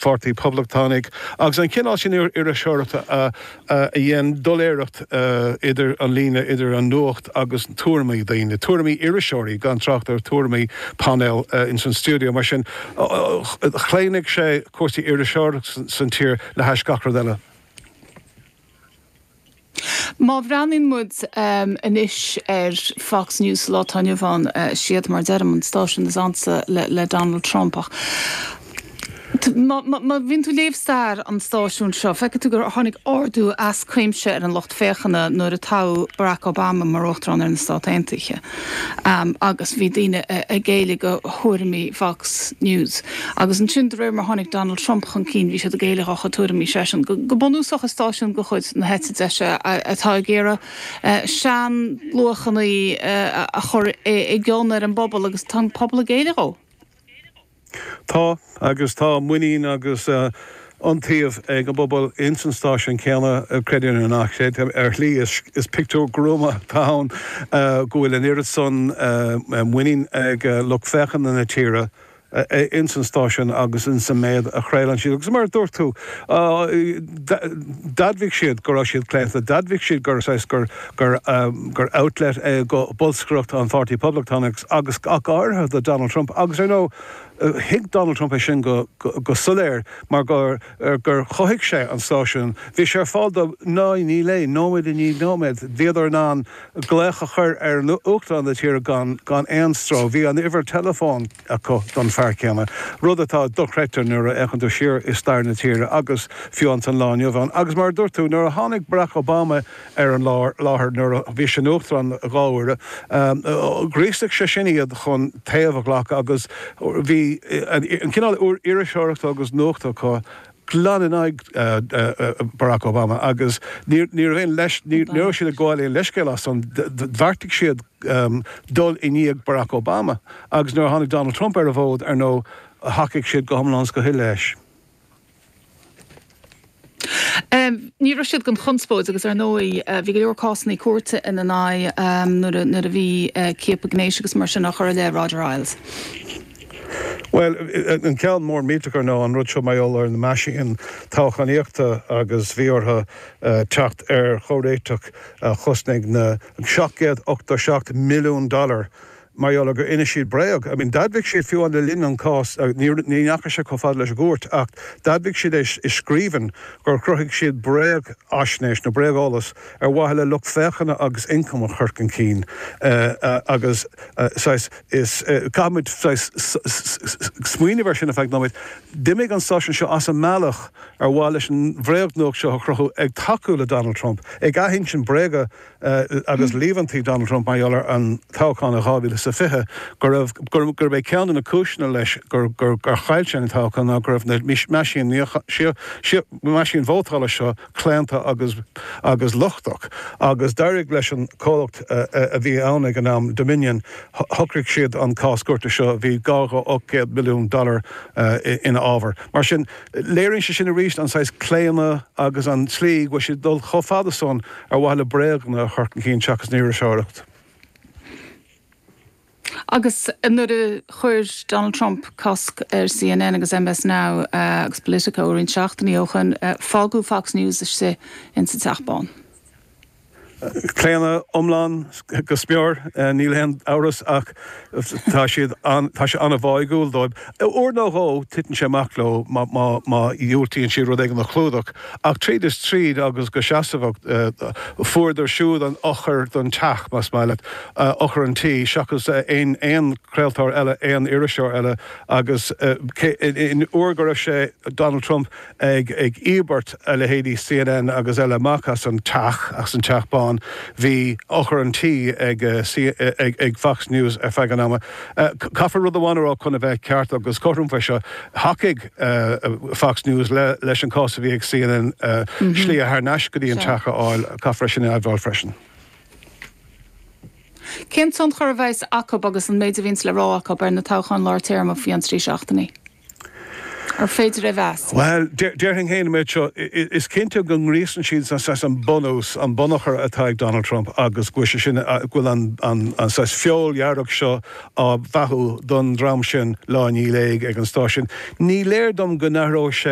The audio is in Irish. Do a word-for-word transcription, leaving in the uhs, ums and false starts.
Pháirtí Poblachtánaigh agus an cineál sin iriseoireachta a a dhein doiléireacht idir an líne idir an nuacht agus tuairimí daoine, tuairimí iriseoirí gan trácht ar tuairimí painéil ins an stiúideo. Mar sin chlaonaigh sé cúrsaí iriseoireachta san tír le hais gach rud eile. Má bhreathnaíonn muid um, anois ar Fox News lá atá inniu ann uh, siad mar deirim an stáisiún is ansa le, le Donald Trump ach Má bhíonn tú ag léamh stair an stáisiún seo, feiceann tú gur tháinig ardú as cuimse ar an lucht féachana nuair a toghadh Barack Obama mar uachtarán ar na Stáit Aontaithe. Um, agus bhí daoine ag géilleadh do thuairimí Fox News. Agus ansin de réir mar tháinig Donald Trump chun cinn bhí siad ag géilleadh dá thuairimí seisean. Go, go bunúsach is stáisiún de chuid na heite deise atá ag iarraidh uh, seanluachanna uh, a chur i gcion ar an bpobal agus tá an pobal ag géilleadh dó. Tá agus tá muinín agus uh, iontaoibh ag an bpobal ins an stáisiún céanna creid é nó ná sé ar shlí is, is pictiúr gruama atá ann uh, go bhfuil an oiread san uh, muinín ag uh, lucht féachana na tíre ins an stáisiún agus ins an méid a chraolann siad. Agus mar dúirt tú d'admhaigh siad go raibh siad claonta, d'admhaigh siad gur gur gur um, gur outlet é do bholscaireacht an Pháirtí Poblachtánach agus ach áirithe do Donald Trump agus ar ndóigh thuig Donald Trump é sin go, go, go soiléir mar gur, gur chothaigh sé an stáisiún. Bhí sé ar fáil do ná ní lé nóiméad i ndiaidh nóiméad, Bhíodar in ann glaoch a chur ar uachtarán na tíre gan gan aon stró, Bhí an uimhir teileafóin acu don fear céanna. Rud atá dochreidte nuair a fhéachann tú siar i stair na tíre agus fiú an lá inniu ann. Agus mar dúirt tú nuair a tháinig Barack Obama ar an láthair nuair a bhí sé ina uachtarán dhá uair, um, ghríosaigh sé sin iad chun taobh a ghlacadh agus bhí an cineál iriseoireachta agus nuachta acu glan in aghaidh uh, uh, Barack Obama agus ní aon leis ní raibh siad ag gabháil aon leithscéal as an bheartaigh siad um, dul i ndiaidh Barack Obama agus nuair a tháinig Donald Trump ar an bhfód ar ndóigh thacaigh siad go hiomlán go huile leis. Um, ní raibh siad gan chonspóid agus ar ndóigh uh, bhí go leor cásanna cúirte ina n-aghaidh um, nuair a bhí uh, ciapadh gnéis agus mar sin á chur i leith Roger Ailes. Well an ceann mór millteach ná an rud seo maidir ar na meaisín toghchánaíochta agus bhí orthu uh, teacht ar chomhréiteach uh, chosnaigh na seacht gcéad ochtó seacht milliún dollar mar gur inis siad bréag. I mean, d'admhaigh siad fiú an le linn an cás ní ndeachaigh sé chomh fada leis an gcúirt ach d'admhaigh siad é i scríbhinn gur chruthaigh siad bréagaisnéis nó bréageolas ar mhaithe le lucht féachana agus ioncam a chur chun cinn uh, uh, agus uh, is caithfimid smaoineamh air sin ar feadh nóiméid. D'imigh an stáisiún seo as an mbealach ar mhaithe leis an bhréagnuacht seo a chruthú ag tacú le Donald Trump, ag athinsint bréaga uh, agus líomhaintí Donald Trump mar gheall ar an toghchán dhá mhíle sa fiche gur gurb é ceann de na cúiseanna leis gur gur gur chaill sé an toghchán ná go raibh na meaisín meaisín vótála seo claonta agus agus lochtach agus d'éirigh leis an comhlacht uh, a bhí ann ag an am Dominion shocraigh siad an cás cúirte seo bhí dhá ocht milliún dollar uh, ina ábhar. Mar sin léiríonn sé sin arís an saghas claonadh agus an tslí go bhfuil siad dul chomh fada san ar mhaithe le bréaganna a chur chun cinn seachas an iriseoireacht. Agus nuair a chuir Donald Trump cosc ar CNN agus MS Now uh, agus Politico roinnt seachtainí ó shin uh, fágadh Fox News istigh in sa Teach Bán. Claonadh iomlán go smior níl aon amhras ach tá siad tá sé an-bháúil dóibh. Uair nó dhó titeann sé amach leo má dhiúltaíonn siad rud éigin a chlúdach ach tríd is tríd agus go seasmhach fuaireadar siúd an eochair don teach más maith leat eochair an tí seachas aon aon chraoltóir eile aon iriseoir eile agus in uair go raibh sé Donald Trump ag ag íobairt a leithéidí CNN agus eile amach as an teach as an Teach Bán bhí eochair an tí ag, ag, ag Fox News ar feadh an ama. Caithfear rud amháin a rá chun a bheith ceart agus cothrom fé seo thacaigh uh, Fox News le, leis an cás a bhí ag CNN uh, mm -hmm. slí thar n-ais go dtí an teach a fháil caithfear sin a admháil freisin. Cén tionchar a bheas acu agus an méid a bhíonns le rá acu ar na toghcháin lár téarma faoi cheann trí seachtainí? Ar féidir a mheas? Well, déarfainn féin an méid seo, is cinnte go ngríosann siad saghas an bunús, an bunachar atá ag Donald Trump agus go bhfuil sé sin, go bhfuil an an saghas feoil dhearg seo á bheathú don dream sin lá i ndiaidh lae ag an stáisiún. Ní léir dom go n-athróidh sé